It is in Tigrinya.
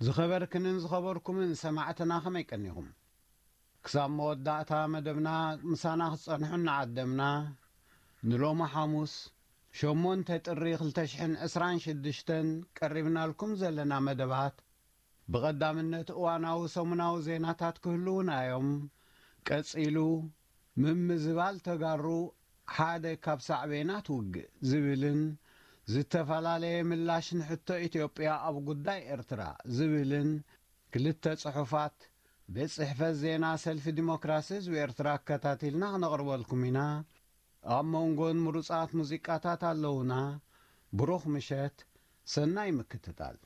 ዝኸበርክንን ዝኸበርኩምን ሰማዕትና ከመይ ቀኒኹም? ክሳብ መወዳእታ መደብና ምሳና ክትጸንሑ እናዓደምና፣ ንሎሚ ሓሙስ ሸሞንተ ጥሪ ክልተ ሽሕን ዕስራን ሽዱሽተን ቀሪብናልኩም ዘለና መደባት፣ ብቐዳምነት እዋናዊ ሰሙናዊ ዜናታት ክህልዉና እዮም። ቀጺሉ፣ ምምዝባል ተጋሩ ሓደ ካብ ሳዕቤናት ውግእ ዝብልን ዝተፈላለየ ምላሽ ንሕቶ ኢትዮጵያ ኣብ ጉዳይ ኤርትራ ዝብልን ክልተ ጽሑፋት ቤት ጽሕፈት ዜና ሰልፊ ዲሞክራሲ ህዝቢ ኤርትራ ኣከታቲልና ክነቕርበልኩም ኢና። ኣብ መንጎን ምሩጻት ሙዚቃታት ኣለዉና። ብሩኽ ምሸት፣ ሰናይ ምክትታል።